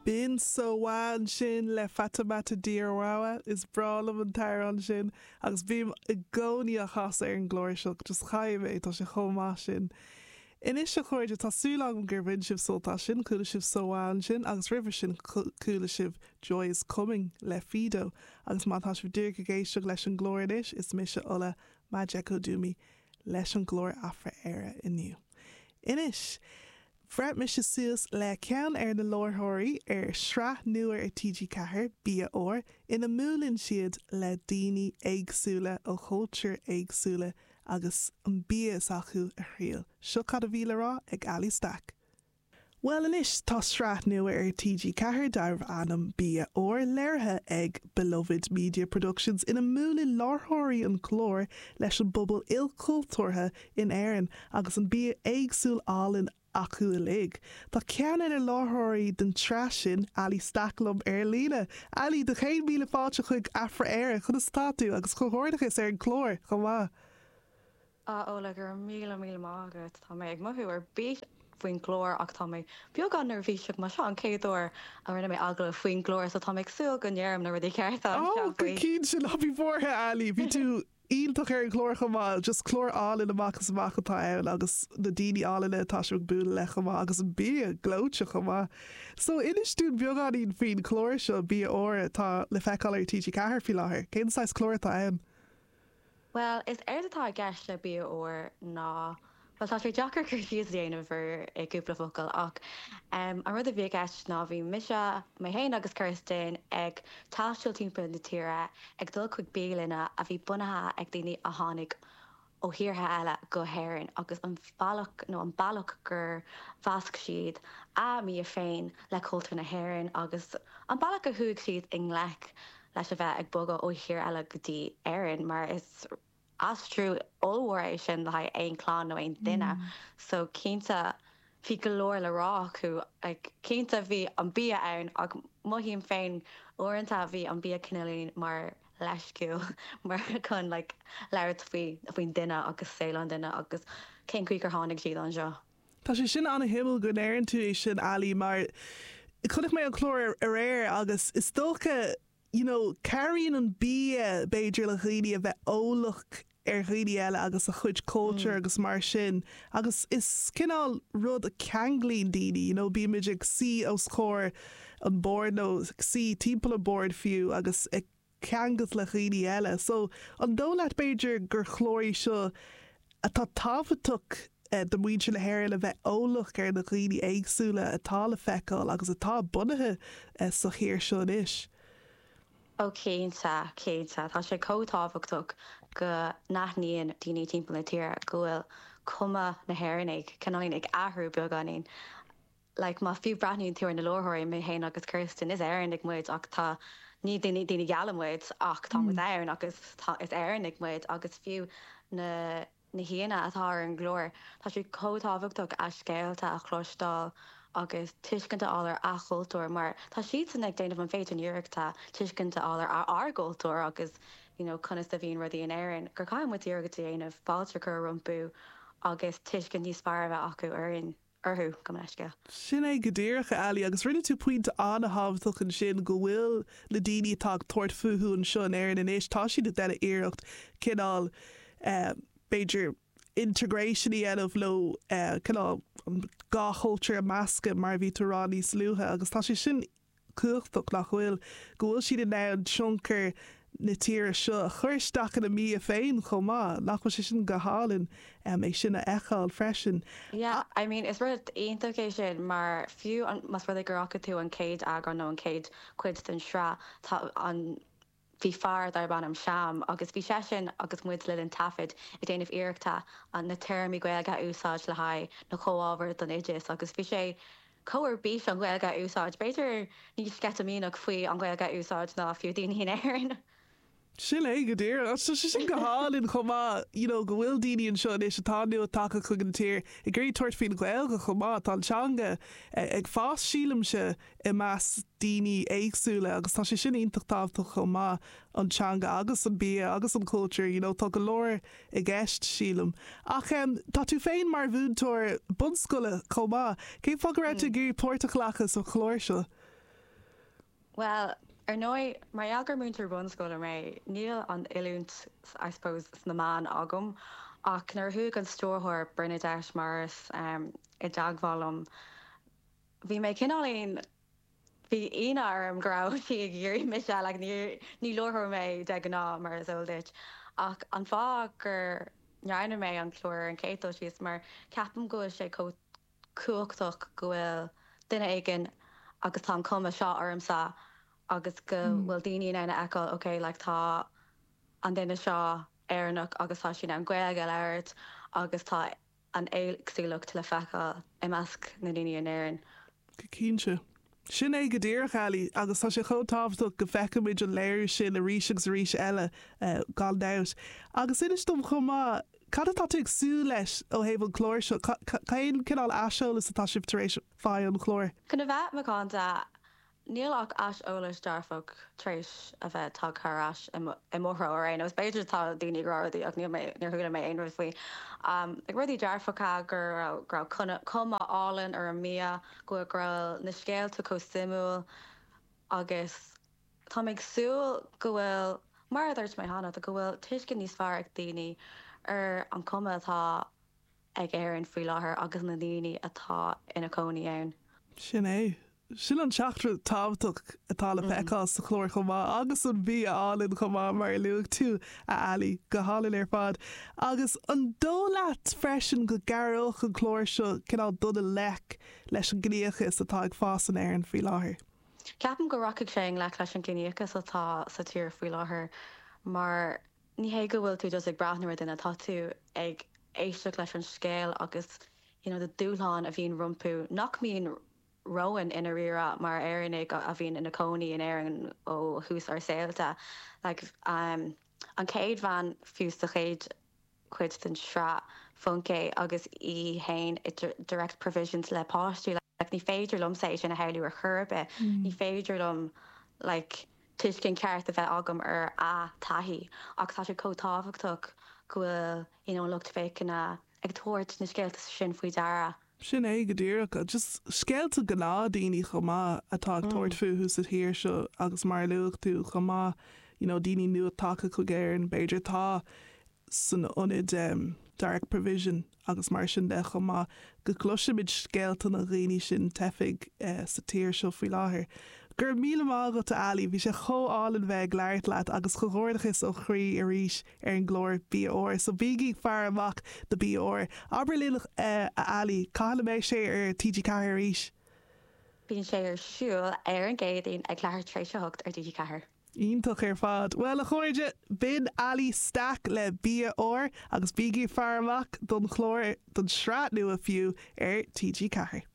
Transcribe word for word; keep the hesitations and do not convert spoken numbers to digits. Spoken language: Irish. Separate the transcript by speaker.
Speaker 1: B'in So Wah ansin le Fatoumata Diawara is breá liom an t-amhrán sin agus bím i gcónaí á chasadh ar an gclár seo just caithfidh mé tá sé chomh maith sin. Anois a chairde tá súil agam gur bhain sibh sult as sin chuala sibh So Wah ansin agus roimhe sin chuala sibh Joy is Coming le Fido agus má tá sibh díreach ag éisteacht leis an gclár anois is mise Ola Majekodunmi leis an gclár Afra-Éire inniu. Anois, Bhreath mise suas le ceann ar na láithreoirí ar sraith nua ar TG Ceathair Bia Úr ina mbuaileann siad le daoine éagsúla ó chultúir éagsúla agus an bia s'acu a thriail. Seo cad a bhí le rá ag Ali Stack. Well anois tá sraith nua ar TG Ceathair darbh ainm Bia Úr léirithe ag Beloved Media Productions ina mbuaileann láithreoirí an chláir leis an bpobal ilchultúrtha in Éirinn agus an bia éagsúil álainn acu uilig. Tá ceann ar na láithreoirí den tsraith sin Ali Stack liom ar líne. Ali do chéad míle fáilte chuig Afra-Éire conas atá tú agus comhghairdeachas ar an chlár chomh maith.
Speaker 2: A Ola gur míle míle maith agat tá mé ag mothú ar bís faoin gclár ach tá mé beagán neirbhíseach mar seo an chéad uair a rinne mé agallamh faoin gclár so tá mé ag súil go ndéarfaidh na rudaí cearta
Speaker 1: Ó go cinnte ná bí buartha Ali, bhí tú iontach ar an chlár chomh maith, just clár álainn amach is amach atá ann agus na daoine álainn atá sibh ag bualadh le chomh maith agus an bia gleoite chomh maith. So inis dúinn beagáinín faoin chlár seo Bia Úr atá le feiceáil ar TG Ceathair faoi láthair. Cén saghas clár atá ann?
Speaker 2: Well, is éard atá i gceist le Bia Úr ná Well tá sé deacair cur síos a dhéanamh ar i gcúpla focal ach um, an rud a bhí i gceist ná bhí mise mé féin agus Kirsten ag taisteal timpeall na tíre ag dul chuig bialanna a bhí bunaithe ag daoine a tháinig ó thíortha eile go hÉirinn agus an bealach nó an bealach gur mheasc siad a mbia féin le cultúr na hÉireann agus an bealach a chuaigh siad i ngleic leis a bheith ag bogadh ó thír eile go dtí Éirinn mar is aistriú ollmhór é sin le haghaidh aon chlann nó aon duine so cinnte bhí go leor le rá acu like, cinnte bhí an bia ann ach mothaím féin uaireanta bhí an bia cineáilín mar leithscéal mar chun like, labhairt faoi faoin duine agus saol an duine agus cén chaoi gur tháinig siad anseo.
Speaker 1: Tá sé sin an-shuimiúil go ndeireann tú é sin Ali mar chonaic mé an clár aréir agus is dócha you know, cabhraíonn an bia b'fhéidir le dhaoine a bheith eolach ar dhaoine eile agus a chuid culture mm. agus mar sin agus is cineál rud a cheanglaíonn daoine, you know, bímid ag suí os comhair an bord nó suí timpeall an bord fiú agus ag ceangailt le dhaoine eile. So an dóigh leat b'fhéidir gur clár é seo atá tábhachtach eh, do mhuintir na hÉireann a bheith eolach ar na daoine éagsúla atá le feiceáil agus atá bunaithe eh, sa thír seo anois.
Speaker 2: Ó cinnte cinnte tá sé chomh tábhachtach go n-aithníonn daoine timpeall na tíre go bhfuil cuma na hÉireannaigh cineáilín ag athrú beagáinín. Like má fiú breathnaíonn tú ar na láithreoirí mé féin agus Kirsten is Éireannaigh muid ach tá ní daoine daoine geala muid ach tá muid ann agus tá is Éireannaigh muid agus fiú na na haíonna atá ar an gclár Tá sé chomh tábhachtach a scéalta a chloisteáil agus tuiscint a fháil ar a chultúr mar tá siad ag déanamh an féidir iarrachta tuiscint a fháil ar ár gcultúr agus you know, conas a bhíonn rudaí in Éirinn gur caithfidh muid iarracht a dhéanamh fáilte chur rompu agus tuiscint níos fearr a bheith acu orainn orthu go leisce.
Speaker 1: Sin é go díreach Ali agus rinne tú pointe an-tábhachtach ansin go bhfuil na daoine atá ag tabhairt fúthu anseo in Éirinn anois tá siad ag déanamh iarracht cineál uh, b'fhéidir integration a dhéanamh leo uh, cineál an dhá chultúr a mheascadh mar bhí tú rá níos luaithe agus tá sé sin cumhachtach nach bhfuil go bhfuil siad in ann tionchar na tíre seo a chur isteach ina mbia féin chomh maith nach bhfuil sé sin go hálainn um, é sin a fheiceáil freisin.
Speaker 2: Yeah, I mean is rud iontach é sin mar fiú más rud gur fhaca tú an chéad eagrán nó an chéad chuid den sraith tá an bhí fear darb ainm Sham agus bhí seisean agus muid le linn taifead ag déanamh iarrachta an na téarmaí Gaeilge a úsáid le haghaidh na comhábhair don oideas agus bhí sé chomh ar bís an Ghaeilge a úsáid b'fhéidir níos sceitimíneach faoi an Ghaeilge a úsáid ná fiú daoine in Éirinn.
Speaker 1: Sin é go díreach sin go hálainn chomh maith you know, go bhfuil daoine anseo anois atá nua tagtha chuig an tír ag iarraidh tabhairt faoin Ghaeilge chomh maith tá an teanga ag fás sílimse i measc daoine éagsúla agus tá sé sin iontach tábhachtach chomh maith an teanga agus an bia agus an cultúr, you know, tá go leor i gceist sílim. Ach um, tá tú féin mar mhúinteoir bunscoile chomh maith, Cén fáth go raibh tú ag iarraidh páirt a ghlacadh sa chlár seo?
Speaker 2: Well, ar ndóigh mar gheall gur múinteoir bunscoile mé, níl an oiliúint I suppose sna meáin agam ach nuair a chuaigh an stiúrthóir Bernadette Morris um, i dteagmháil liom. Bhí mé cineáilín bhí ionadh orm go raibh sí ag iarraidh mise like, ní ní láithreoir mé de ghnáth mar is eol duit ach an fáth gur ndearna mé an clár an chéad dul síos mar ceapaim go bhfuil sé chomh cumhachtach go bhfuil duine éigin agus tá an cuma seo ormsa agus go mm. bhfuil daoine in ann a fheiceáil okay like tá an duine seo Éireannach agus tá sí an Ghaeilge a labhairt agus tá an éagsúlacht le feiceáil i measc na ndaoine in Éirinn.
Speaker 1: Go cinnte. Sin é go díreach Ali agus tá sé chomh tábhachtach go bhfeicfimid an léiriú sin arís agus arís eile uh, gan dabht. Agus inis dom chomh maith cad atá tú ag súil leis ó thaobh an chlár seo cén cineál aiseolas atá sibh tar éis fáil ón chlár.
Speaker 2: Chun a bheith macánta níl ach aiseolas dearfach tar éis a bheith tagtha ar ais i mo threo ar aon nós b'fhéidir tá daoine ag rá rudaí ach níl mé níor chuala mé aon rud faoi. Um, ag rudaí dearfacha gur raibh cuma álainn ar an mbia go raibh na scéalta chomh suimiúil agus Tá ag súil go bhfuil mar a dúirt mé cheana go bhfuil tuiscint níos fearr ag daoine ar an cuma atá ag Éirinn faoi láthair agus na daoine atá ina cónaí ann.
Speaker 1: Sin é. Sin an teachtaireacht tábhachtach atá le feiceáil sa chlár chomh maith agus an bia álainn chomh maith mar a luaigh tú a Ali go hálainn ar fad. Agus an dóigh leat freisin go gcabhródh an clár seo cineál dul i ngleic leis an gciníochas atá ag fás in Éirinn faoi láthair.
Speaker 2: Ceapaim go rachaidh sé i ngleic leis an gciníochas atá sa tír faoi láthair mar ní hé go bhfuil tú just ag breathnú ar duine tá tú ag éisteacht leis an scéal agus you know, na dúshláin a bhíonn rompu nach mbíonn romhainn i ndáiríre mar Éireannaigh a bhíonn ina cónaí in Éirinn ó thús ár saolta. Like, um, an chéad bhean fiú sa chéad chuid den sraith Funke agus í féin i direct provisions le páistí like, ní féidir liom sé sin a shamhlú ar chor ar bith mm. ní féidir liom like, tuiscint ceart a bheith agam ar a taithí ach tá sé chomh tábhachtach go bhfuil you know, lucht féachana ag tabhairt na scéalta sin faoi deara.
Speaker 1: Sin é go díreach just scéalta gnáthdhaoine chomh maith atá ag tabhairt mm. fúthu sa tír seo agus mar luaigh tú chomh maith you know, daoine nua tagtha chuig Éirinn b'fhéidir tá san ionad um, direct provision agus mar sin de chomh maith go gcloisimid scéalta na ndaoine sin teifigh uh, sa tír seo faoi láthair. Gur míle mágat Ali bhí sé chomh hálainn bheith ag labhairt leat agus comhghairdeachas ó chroí arís ar an gclár Bia Úr, so bígí ag faire amach do Bia Úr. Abair linn uh, a Ali cá mbeidh sé ar TG Ceathair arís.
Speaker 2: Bíonn sé ar siúl ar an gCéadaoin ag leathuair tar éis a hocht ar TG Ceathair.
Speaker 1: Iontach ar fad. Well a chairde b'in Ali Stack le Bia Úr agus bígí ag faire amach don chlár don sraith nua fiú ar TG Ceathair.